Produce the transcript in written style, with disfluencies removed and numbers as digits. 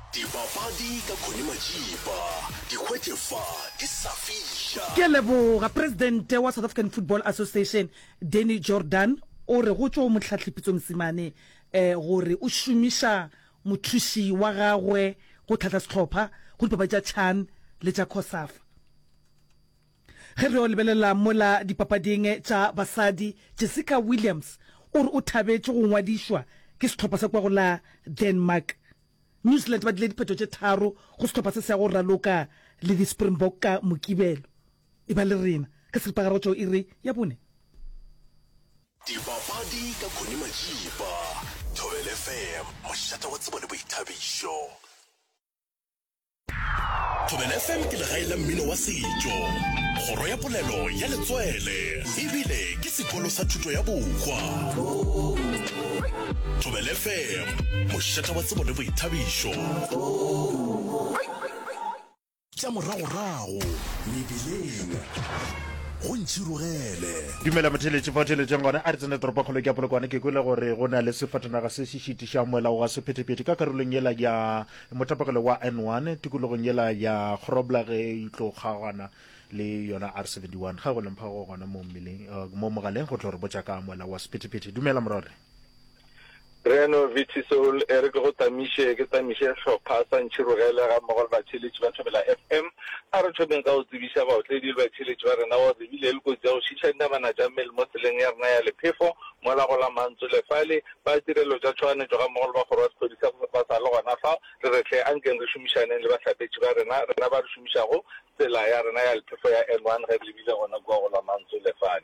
Dipapadi ka Connie Majiba, di hwetše fa di sa fiša. Ke a leboga. Presidente wa South African Football Association, Danny Jordaan, o re go tšwa go Mohlahli Pitso Mosimane gore o šomiša mothuši wa gagwe go hlahla sehlopha go dipapadi tša Chan le tša Cosafa. Ge re yo lebelela mola dipapading tša basadi, Jessica Williams o re o thabetše go ngwadišwa ke sehlopha sa kua go la Denmark. New Zealand ba dile diphetho tše tharo go sehlopha se se ya go raloka le di Springbok ka Mokibelo. E ba le rena ka seripagare go tšwa go iri ya bone. Dipapadi ka Connie Majiba, Thobela FM, mošate wa tsebo le boithabišo. Thobela FM ke legae la mmino wa setšo, kgoro ya polelo ya letswele, ebile ke sekolo sa thuto ya bohwa. Thobela FM, mošate wa tsebo le boithabišo. Tša moragorago mebileng go ntšhirogele. Dumela motheeletši fa o theeletšeng gona a re tsene toropokgolo ke ya Polokwane ke kwele gore go na le sefatanaga se se šitišang moela wa sephethephethe ka karolong yela ya motapogelo wa N1 tikologong yela ya Grobler ge e tlo kgaogana le yona R71 ga go lempha go gona mo mmeleng eh, mo mogaleng go tlo re botša ka moela wa sephethephethe dumela morore Reno VT Soul e re ke go tamiše ke tamiše hlopha sa Ntšhirogele ga mmogo le batheeletši ba Thobela FM. A re thomeng ka go tsebiša baotledi le batheeletši ba rena gore re bile le kotsi ya go šiša dinamana tša mmele mo tseleng ya rena ya lephefo mola go la Mantsole fale. Ba tirelo tša tšhoganetšo ga mmogo le ba kgoro ya sephodisa ba sa le gona fa. Re re hle ankeng re šomišaneng le bahlapetši ba rena, rena ba re šomišago tsela ya rena ya lephefo ya N1 ge re lebile gona kua go la Mantsole fale.